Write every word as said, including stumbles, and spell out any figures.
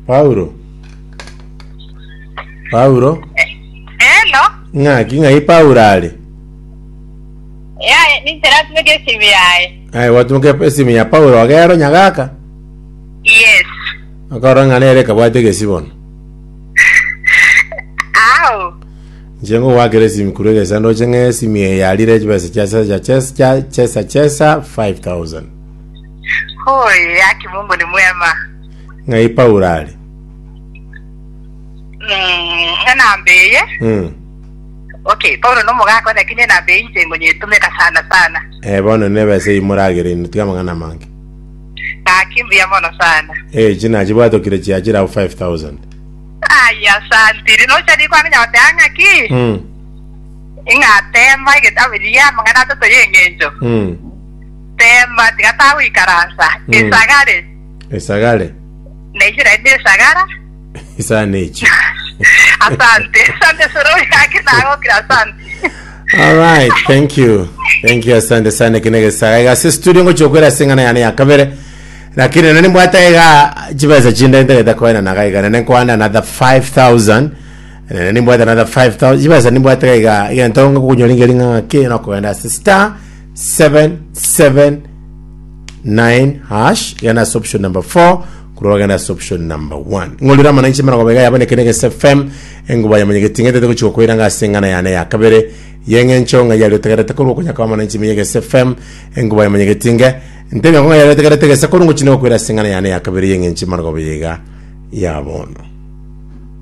Paulo. Paulo. Hello. Ng'aki ng'ai Paulo are? Yaye, ninche natumeka esimu yaye. Aye gwatumeka esimu ya Paulo ogero nyagaka. Yes. Akora ng'a nere kabwate egesi bono. Au. Inche ngogwakera esimu korwa egesa ndoche ng'a esimu eye yarire chibesa chia chesa chesa chesa chesa five thousand. Hoi, haki Mungu ni mwema. Ng'ai Paulo are? Mm, enamba eye. Mm. Okay, Paulo nomogaka lakini enamba eye inche ngonyetumeka sana sana. Eh bono nebesa eywo moragere inwe tiga amang'ana amange. Gaki mbuya mono sana. Eh china chibwatokire chiachire abwo five thousand. Ai, asante. Rinocha rikwang'enya goteba ng'aki? Mm. Ing'atema egetabu riria amang'ana atato ya eng'encho. Mm. Tema tiga tagoikaransa. Mm. Esagare. Esagare. Naishira inde esagara. Isana echi. Asante. Asante sorori yake nagokira asante. All right, thank you. Thank you, asante sana kinege saga. Iga se studio ngo chokwera singana yani ya kabere. Lakini nani mbwata iga chibesa chinda ndeta koena naga iga nane kwanda another five thousand. Nani mbwata another five thousand. Chibesa nimbwata iga iga ntonga kunyolinga linga ke na koenda star seven seven nine hash yana option number four kuroga na option number one ngolira mananchi mara gobega yabone kenege F M enguba ya manyegeti ngete guchiko kwira ngasengana yane ya kabere yenge nchonga yali tegerete ko kunya kwa mananchi miyege F M enguba ya manyegeti nge ntebe ngo yali tegerete gese ko nguchine kwira sengana yane ya kabere yenge nchi mara gobega yabono.